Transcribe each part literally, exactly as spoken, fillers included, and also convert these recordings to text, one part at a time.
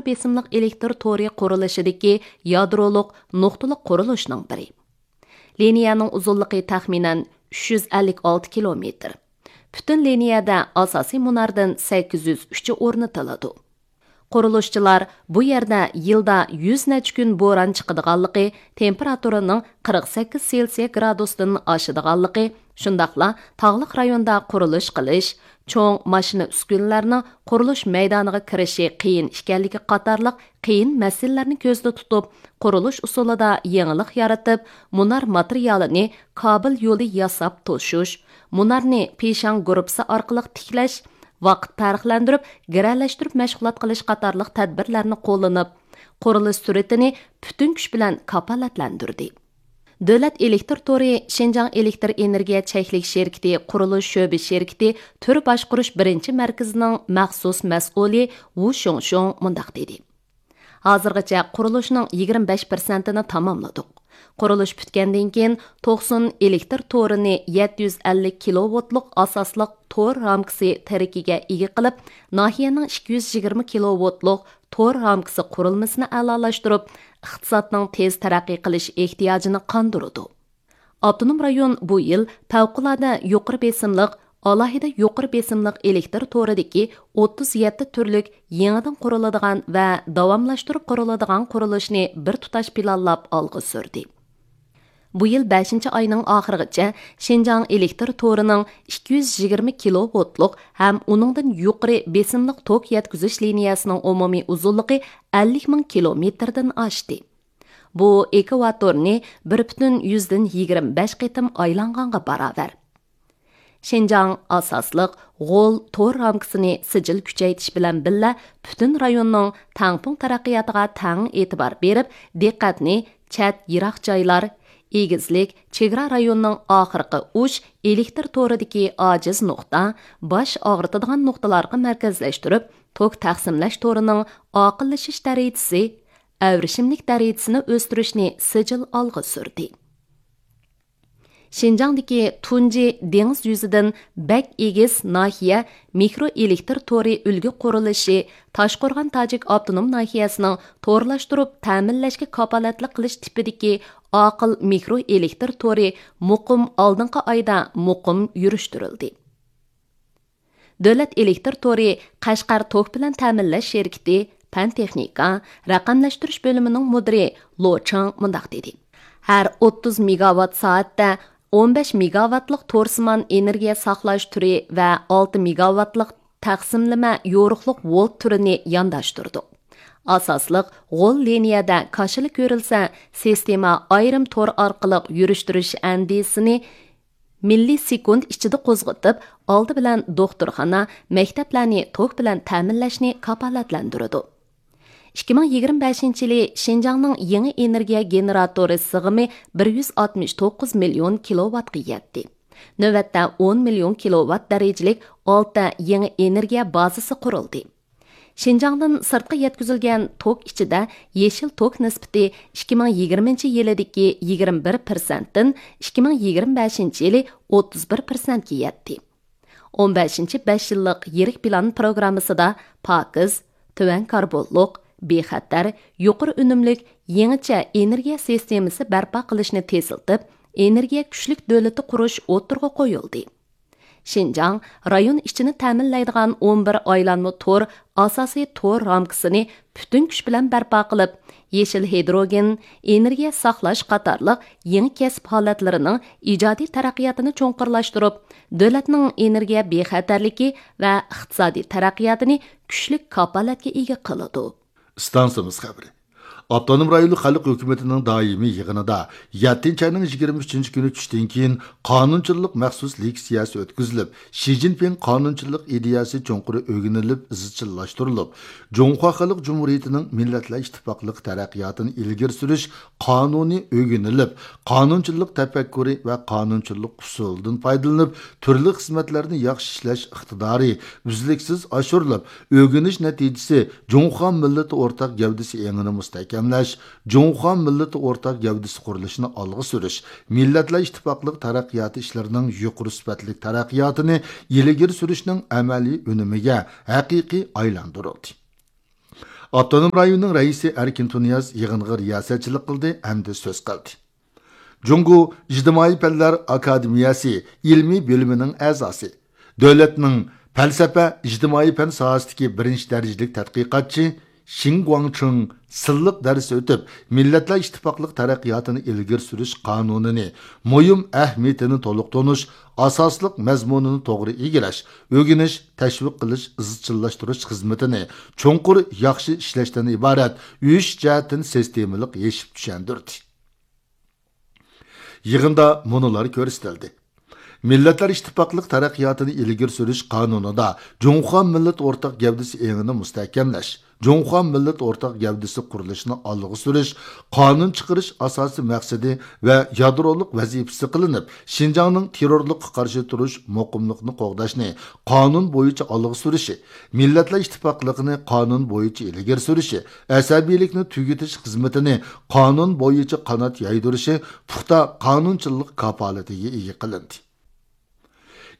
بېسىملىق ئېلېكتر تورى قۇرۇلۇشىدىكى يادرولۇق نۇقتىلىق قۇرۇلۇشنىڭ بىرى. لىنىيەنىڭ ئۇزۇنلۇقى تەخمىنەن ئۈچ يۈز ئەللىك ئالتە كىلومېتىر. پۈتۈن لىنىيەدە ئاساسىي مۇناردىن سەككىز يۈز ئۈچى ئورنىتىلىدۇ. قۇرۇلۇشچىلار بۇ يەردە يىلدا يۈز نەچچە كۈن بوران چىقىدىغانلىقى، تېمپېراتۇرىنىڭ قىرىق سەككىز سېلسىيە گرادۇستىن ئاشىدىغانلىقى، شۇنداقلا تاغلىق رايوندا قۇرۇلۇش قىلىش، چوڭ ماشىنا ئۈسكۈنىلەرنىڭ قۇرۇلۇش مەيدانىغا كىرىشى قىيىن ئىكەنلىكى قاتارلىق قىيىن مەسىلىلەرنى كۆزدە تۇتۇپ، قۇرۇلۇش ئۇسۇلىدا يېڭىلىق يارىتىپ، مۇنار ماتېرىيالىنى كابېل يولى ياساپ توشۇش، مۇنارنى پىشاڭ گۇرۇپپىسى ئارقىلىق تىكلەش، ۋاقىت پەرقلەندۈرۈپ، گىرەلەشتۈرۈپ مەشغۇلات قىلىش قاتارلىق تەدبىرلەرنى قوللىنىپ، قۇرۇلۇش سۈرئىتىنى پۈتۈن كۈچ بىلەن كاپالەتلەندۈردى. دۆلەت ئېلېكتر تورى شىنجاڭ ئېلېكتر ئېنېرگىيە چەكلىك شىركىتى قۇرۇلۇش شۆبە شىركىتى تۈر باشقۇرۇش بىرىنچى مەركىزىنىڭ مەخسۇس مەسئۇلى ۋۇ شۇڭشۇڭ مۇنداق دېدى: ھازىرغىچە قۇرۇلۇشنىڭ يىگىرمە بەش پىرسەنتىنى تاماملىدۇق. قۇرۇلۇش پۈتكەندىن كېيىن، توقسۇن ئېلېكتر تورىنى يەتتە يۈز ئەللىك كىلوۋولتلۇق ئاساسلىق تور رامكىسى تىرىكىگە ئىگە قىلىپ، ناھىيەنىڭ ئىككى يۈز يىگىرمە كىلوۋولتلۇق تور رامكىسى قۇرۇلمىسىنى ئەلالاشتۇرۇپ، ئىقتىسادنىڭ تېز تەرەققىي قىلىش ئېھتىياجىنى قاندۇرىدۇ. ئاپتونوم رايون بۇ يىل پەۋقۇلئاددە يۇقىرى بېسىملىق، ئالاھىدە يۇقىرى بېسىملىق ئېلېكتر تورىدىكى ئوتتۇز يەتتە تۈرلۈك يېڭىدىن قۇرۇلىدىغان ۋە داۋاملاشتۇرۇپ قۇرۇلىدىغان قۇرۇلۇشنى بىر تۇتاش پىلانلاپ ئالغا سۈردى. بۇ يىل بەشىنچى ئاينىڭ ئاخىرىغىچە شىنجاڭ ئېلېكتر تورىنىڭ ئىككى يۈز يىگىرمە كىلوۋولتلۇق ھەم ئۇنىڭدىن يۇقىرى بېسىملىق توك يەتكۈزۈش لىنىيەسىنىڭ ئومۇمىي ئۇزۇنلۇقى ئەللىك مىڭ كىلومېتىردىن ئاشتى. بۇ ئېكۋاتورنى بىر پۈتۈن يۈزدىن يىگىرمە بەش قېتىم ئايلانغانغا باراۋەر. شىنجاڭ ئاساسلىق غول تور رامكىسىنى سىجىل كۈچەيتىش بىلەن بىللە، پۈتۈن رايوننىڭ تەڭپۇڭ تەرەققىياتىغا تەڭ ئېتىبار بېرىپ، دىققەتنى چەت، يىراق جايلار، ئېگىزلىك، چېگرا رايوننىڭ ئاخىرقى ئۇچ ئېلېكتر تورىدىكى ئاجىز نۇقتا، باش ئاغرىتىدىغان نۇقتىلارغا مەركەزلەشتۈرۈپ، توك تەقسىملەش تورىنىڭ ئاقىللىشىش دەرىجىسى، ئەۋرىشىملىك دەرىجىسىنى ئۆستۈرۈشنى سىجىل ئالغا سۈردى. شىنجاڭدىكى تۇنجى دېڭىز يۈزىدىن بەك ئېگىز ناھىيە مىكرو ئېلېكتر تورى ئۈلگە قۇرۇلۇشى تاشقورغان تاجىك ئاپتونوم ناھىيەسىنىڭ تورلاشتۇرۇپ تەمىنلەشكە كاپالەتلىك قىلىش تىپىدىكى ئاقىل مىكرو ئېلېكتر تورى مۇقىم ئالدىنقى ئايدا مۇقىم يۈرۈشتۈرۈلدى. دۆلەت ئېلېكتر تورى قەشقەر توك بىلەن تەمىنلەش شىركىتى پەن تېخنىكا، رەقەملەشتۈرۈش بۆلۈمىنىڭ مۇدىرى لو چېڭ مۇنداق دېدى: ھەر ئوتتۇز مېگاۋات سائەتتە ئون بەش مېگاۋاتلىق تورسىمان ئېنېرگىيە ساقلاش تۈرى ۋە ئالتە مېگاۋاتلىق تەقسىملىمە يورۇقلۇق ۋولت تۈرىنى يانداشتۇردۇق. ئاساسلىق غول لىنىيەدە كاشىلا كۆرۈلسە، سىستېما ئايرىم تور ئارقىلىق يۈرۈشتۈرۈش ئەندىزىسىنى مىللىسېكۇنت ئىچىدە قوزغىتىپ، ئالدى بىلەن دوختۇرخانا، مەكتەپلەرنى توك بىلەن تەمىنلەشنى كاپالەتلەندۈرىدۇ. ئىككى مىڭ يىگىرمە بەشىنچى يىلى شىنجاڭنىڭ يېڭى ئېنېرگىيە گېنېراتورى سىغىمى بىر يۈز ئاتمىش توققۇز مىليون كىلوۋاتقا يەتتى. نۆۋەتتە ئون مىليون كىلوۋات دەرىجىلىك ئالتە يېڭى ئېنېرگىيە بازىسى قۇرۇلدى. شىنجاڭدىن سىرتقا يەتكۈزۈلگەن توك ئىچىدە يېشىل توك نىسبىتى ئىككى مىڭ يىگىرمىنچى يىلىدىكى يىگىرمە بىر پىرسەنتتىن ئىككى مىڭ يىگىرمە بەشىنچى يىلى ئوتتۇز بىر پىرسەنتكە يەتتى. ئون بەشىنچى بەش يىللىق يىرىك پىلان پروگراممىسىدا پاكىز، تۆۋەن كاربونلۇق، بىخەتەر، يۇقىرى ئۈنۈملۈك يېڭىچە ئېنېرگىيە سىستېمىسى بەرپا قىلىشنى تېزلىتىپ، ئېنېرگىيە كۈچلۈك دۆلىتى قۇرۇش ئوتتۇرىغا قويۇلدى. شىنجاڭ رايون ئىچىنى تەمىنلەيدىغان ئون بىر ئايلانما تور ئاساسىي تور رامكىسىنى پۈتۈن كۈچ بىلەن بەرپا قىلىپ، يېشىل ھىدروگېن، ئېنېرگىيە ساقلاش قاتارلىق يېڭى كەسىپ ھالەتلىرىنىڭ ئىجادىي تەرەققىياتىنى چوڭقۇرلاشتۇرۇپ، دۆلەتنىڭ ئېنېرگىيە بىخەتەرلىكى ۋە ئىقتىسادىي تەرەققىياتىنى كۈچلۈك كاپالەتكە ئىگە قىلىدۇ. ئىستانسىمىز خەۋىرى. ئاپتونوم رايونلۇق خەلق ھۆكۈمىتىنىڭ دائىمىي يىغىنىدا يەتتىنچى ئاينىڭ يىگىرمە ئۈچىنچى كۈنى چۈشتىن كېيىن قانۇنچىلىق مەخسۇس لېكسىيەسى ئۆتكۈزۈلۈپ، شى جىنپىڭ قانۇنچىلىق ئىدىيەسى چوڭقۇر ئۆگىنىلىپ، ئىزچىللاشتۇرۇلۇپ، جۇڭخۇا خەلق جۇمھۇرىيىتىنىڭ مىللەتلەر ئىتتىپاقلىقى تەرەققىياتىنى ئىلگىرى سۈرۈش قانۇنى ئۆگىنىلىپ، قانۇنچىلىق تەپەككۇرى ۋە قانۇنچىلىق ئۇسۇلىدىن پايدىلىنىپ، تۈرلۈك خىزمەتلەرنى ياخشى ئىشلەش ئىقتىدارى ئۈزلۈكسىز ئاشۇرۇلۇپ، ئۆگىنىش نەتىجىسى جۇڭخۇا مىللىتى ئورتاق گەۋدىسى ئېڭىنى مۇستەھكەملەش، جۇڭخۇا مىللىتى ئورتاق گەۋدىسى قۇرۇلۇشىنى ئالغا سۈرۈش، مىللەتلەر ئىتتىپاقلىق تەرەققىياتى ئىشلىرىنىڭ يۇقىرى سۈپەتلىك تەرەققىياتىنى ئىلگىرى سۈرۈشنىڭ ئەمەلىي ئۈنۈمىگە ھەقىقىي ئايلاندۇرۇلدى. ئاپتونوم رايوننىڭ رەئىسى ئەركىن تۇنىياز يىغىنغا رىياسەتچىلىك قىلدى ھەمدە سۆز قىلدى. جۇڭگو ئىجتىمائىي پەنلەر ئاكادېمىيەسى ئىلمىي بۆلۈمىنىڭ ئەزاسى، دۆلەتنىڭ پەلسەپە، ئىجتىمائىي پەن ساھەسىدىكى بىرىنچى دەرىجىلىك تەتقىقاتچى شېڭ گۇاڭچىڭ سىنلىق دەرس ئۆتۈپ، مىللەتلەر ئىتتىپاقلىق تەرەققىياتىنى ئىلگىرى سۈرۈش قانۇنىنى مۇھىم ئەھمىيىتىنى تولۇق تونۇش، ئاساسلىق مەزمۇنىنى توغرا ئىگىلەش، ئۆگىنىش، تەشۋىق قىلىش، ئىزچىللاشتۇرۇش خىزمىتىنى چوڭقۇر ياخشى ئىشلەشتىن ئىبارەت ئۈچ جەھەتتىن سىستېمىلىق يېشىپ چۈشەندۈردى. يىغىندا مۇنۇلار كۆرسىتىلدى. مىللەتلەر ئىتتىپاقلىق تەرەققىياتىنى ئىلگىرى سۈرۈش قانۇنىدا جۇڭخۇا مىللەت ئورتاق گەۋدىسى ئېڭىنى مۇستەھكەملەش، جۇڭخۇا مىللەت ئورتاق گەۋدىسى قۇرۇلۇشىنى ئالغا سۈرۈش، قانۇن چىقىرىش ئاساسىي مەقسىتى ۋە يادرولۇق ۋەزىپىسى قىلىنىپ، شىنجاڭنىڭ تېررورلۇققا قارشى تۇرۇش مۇقىملىقىنى قوغداشنى قانۇن بويىچە ئالغا سۈرۈشى، مىللەتلەر ئىتتىپاقلىقىنى قانۇن بويىچە ئىلگىرى سۈرۈشى، ئەسەبىيلىكنى تۈگىتىش خىزمىتىنى قانۇن بويىچە قانات يايدۇرۇشى پۇختا قانۇنچىللىق كاپالىتىگە ئىگە قىلىندى.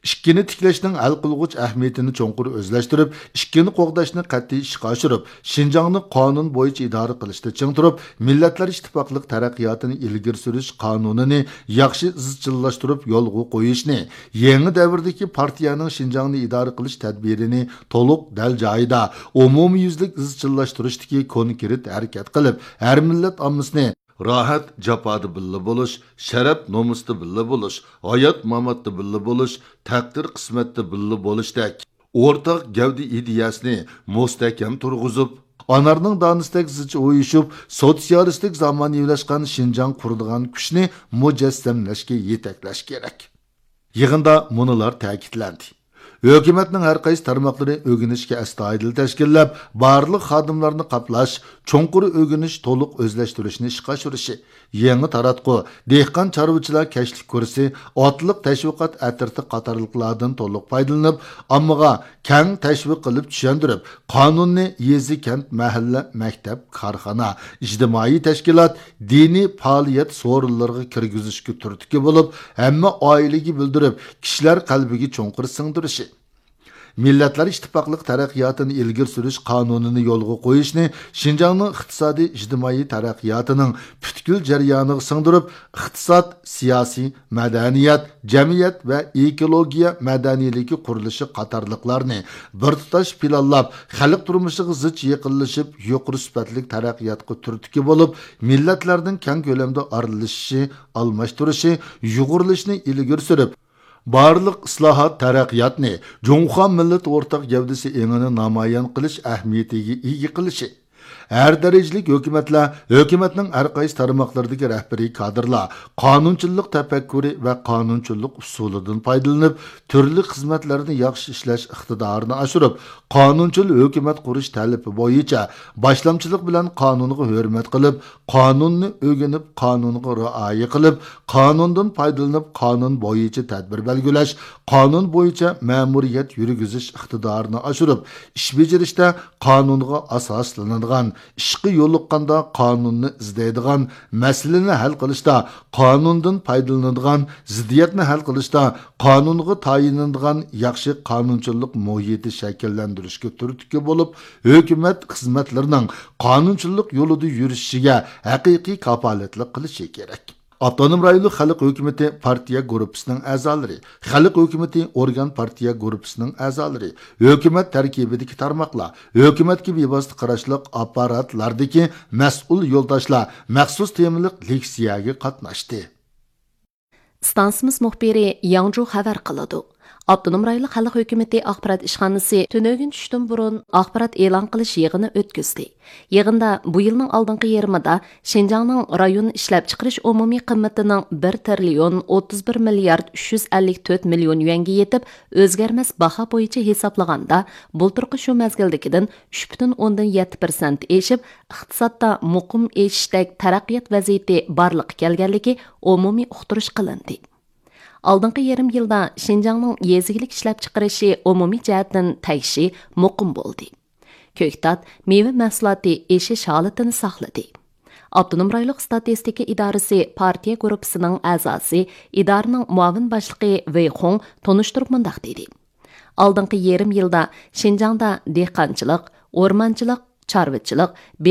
ئىككىنى تىكلەشنىڭ ھەل قىلغۇچ ئەھمىيىتىنى چوڭقۇر ئۆزلەشتۈرۈپ، ئىككىنى قوغداشنى قەتئىي ئىشقا ئاشۇرۇپ، شىنجاڭنى قانۇن بويىچە ئىدارە قىلىشتا چىڭ تۇرۇپ، مىللەتلەر ئىتتىپاقلىق تەرەققىياتىنى ئىلگىرى سۈرۈش قانۇنىنى ياخشى ئىزچىللاشتۇرۇپ يولغا قويۇشنى، يېڭى دەۋردىكى پارتىيەنىڭ شىنجاڭنى ئىدارە قىلىش تەدبىرىنى تولۇق دەل جايىدا، ئومۇميۈزلۈك ئىزچىللاشتۇرۇشتىكى كونكرېت ھەرىكەت قىلىپ، ھەر مىللەت ئاممىسىنى راھەت جاپادا بىللە بولۇش، شەرەپ نومۇستا بىللە بولۇش، ھايات ماماتتا بىللە بولۇش، تەقدىر قىسمەتتە بىللە بولۇشتەك ئورتاق گەۋدە ئىدىيەسىنى مۇستەھكەم تۇرغۇزۇپ، ئانارنىڭ دانىسىدەك زىچ ئۇيۇشۇپ، سوتسىيالىستىك زامانىۋىلاشقان شىنجاڭ قۇرىدىغان كۈچنى مۇجەسسەملەشكە يېتەكلەش كېرەك. يىغىندا مۇنۇلار تەكىتلەندى. ھۆكۈمەتنىڭ ھەر قايسى تارماقلىرى ئۆگىنىشكە ئەستايىدىل تەشكىللەپ، بارلىق خادىملارنى قاپلاش، چوڭقۇر ئۆگىنىش، تولۇق ئۆزلەشتۈرۈشنى ئىشقا ئاشۇرۇشى، يېڭى تاراتقۇ، دېھقان چارۋىچىلار كەچلىك كۇرسى، ئاتلىق تەشۋىقات ئەترىتى قاتارلىقلاردىن تولۇق پايدىلىنىپ، ئاممىغا كەڭ تەشۋىق قىلىپ چۈشەندۈرۈپ، قانۇننى يېزا، كەنت، مەھەللە، مەكتەپ، كارخانا، ئىجتىمائىي تەشكىلات، دىنىي پائالىيەت سورۇنلىرىغا كىرگۈزۈشكە تۈرتكە بولۇپ، ھەممە ئائىلىگە بىلدۈرۈپ، كىشىلەر قەلبىگە چوڭقۇر سىڭدۈرۈشى. مىللەتلەر ئىتتىپاقلىق تەرەققىياتىنى ئىلگىرى سۈرۈش قانۇنىنى يولغا قويۇشنى شىنجاڭنىڭ ئىقتىسادىي ئىجتىمائىي تەرەققىياتىنىڭ پۈتكۈل جەريانىغا سىڭدۈرۈپ، ئىقتىساد، سىياسىي، مەدەنىيەت، جەمئىيەت ۋە ئېكولوگىيە مەدەنىيلىكى قۇرۇلۇشى قاتارلىقلارنى بىر تۇتاش پىلانلاپ، خەلق تۇرمۇشىغا زىچ يېقىنلىشىپ، يۇقىرى سۈپەتلىك تەرەققىياتقا تۈرتكە بولۇپ، مىللەتلەرنىڭ كەڭ كۆلەمدە ئارىلىشىشى، ئالماشتۇرۇشى، يۇغۇرۇلۇشىنى ئىلگىرى سۈرۈپ، بارلىق ئىسلاھات، تەرەققىياتنى جۇڭخۇا مىللىتى ئورتاق گەۋدىسى ئېڭىنى نامايان قىلىش ئەھمىيىتىگە ئىگە قىلىشى. ھەر دەرىجىلىك ھۆكۈمەتلەر، ھۆكۈمەتنىڭ ھەر قايسى تارماقلىرىدىكى رەھبىرىي كادىرلار قانۇنچىللىق تەپەككۇرى ۋە قانۇنچىللىق ئۇسۇلىدىن پايدىلىنىپ، تۈرلۈك خىزمەتلەرنى ياخشى ئىشلەش ئىقتىدارىنى ئاشۇرۇپ، قانۇنچىل ھۆكۈمەت قۇرۇش تەلىپى بويىچە باشلامچىلىق بىلەن قانۇنغا ھۆرمەت قىلىپ، قانۇننى ئۆگىنىپ، قانۇنغا رىئايە قىلىپ، قانۇندىن پايدىلىنىپ، قانۇن بويىچە تەدبىر بەلگىلەش، قانۇن بويىچە مەمۇرىيەت يۈرگۈزۈش ئىقتىدارىنى ئاشۇرۇپ، ئىش بېجىرىشتە قانۇنغا ئاساسلىنىدىغان، ئىشقا يولۇققاندا قانۇننى ئىزدەيدىغان، مەسىلىنى ھەل قىلىشتا قانۇندىن پايدىلىنىدىغان، زىددىيەتنى ھەل قىلىشتا قانۇنغا تايىنىدىغان ياخشى قانۇنچىلىق مۇھىتى شەكىللەندۈرۈشكە تۈرتكە بولۇپ، ھۆكۈمەت خىزمەتلىرىنىڭ قانۇنچىلىق يولىدا يۈرۈشىگە ھەقىقىي كاپالەتلىك قىلىشى كېرەك. ئاپتونوم رايونلۇق خەلق ھۆكۈمىتى پارتىيە گۇرۇپپىسىنىڭ ئەزالىرى، خەلق ھۆكۈمىتى ئورگان پارتىيە گۇرۇپپىسىنىڭ ئەزالىرى، ھۆكۈمەت تەركىبىدىكى تارماقلار، ھۆكۈمەتكە بىۋاسىتە قاراشلىق ئاپپاراتلاردىكى مەسئۇل يولداشلار مەخسۇس تېمىلىق لېكسىيەگە قاتناشتى. ئىستانسىمىز مۇخبىرى ياڭجۇ خەۋەر قىلىدۇ. ئاپتونوم رايونلۇق خەلق ھۆكۈمىتى ئاخبارات ئىشخانىسى تۈنۈگۈن چۈشتىن بۇرۇن ئاخبارات ئېلان قىلىش يىغىنى ئۆتكۈزدى. يىغىندا بۇ يىلنىڭ ئالدىنقى يېرىمىدا شىنجاڭنىڭ رايون ئىشلەپچىقىرىش ئومۇمىي قىممىتىنىڭ بىر تىرىليون ئوتتۇز بىر مىليارد ئۈچ يۈز ئەللىك تۆت مىليون يۈەنگە يېتىپ، ئۆزگەرمەس باھا بويىچە ھېسابلىغاندا، بۇلتۇرقى شۇ مەزگىلدىكىدىن ئۈچ پۈتۈن ئوندىن يەتتە پىرسەنت ئېشىپ، ئىقتىسادتا مۇقىم ئېشىشتەك تەرەققىيات ۋەزىيىتى بارلىققا كەلگەنلىكى ئومۇمىي ئۇقتۇرۇش قىلىندى. ئالدىنقى يېرىم يىلدا شىنجاڭنىڭ يېزا ئىگىلىك ئىشلەپچىقىرىشى ئومۇمىي جەھەتتىن تەگىشى مۇقىم بولدى. كۆكتات، مېۋە مەھسۇلاتى ئېشىش ھالىتىنى ساقلىدى. ئاپتونوم رايونلۇق ئىستاتىستىكا ئىدارىسى پارتىيە گۇرۇپپىسىنىڭ ئەزاسى، ئىدارىنىڭ مۇئاۋىن باشلىقى ۋېي خۇڭ تونۇشتۇرۇپ مۇنداق دېدى: ئالدىنقى يېرىم يىلدا شىنجاڭدا دېھقانچىلىق، ئورمانچىلىق، چارۋىچىلىق،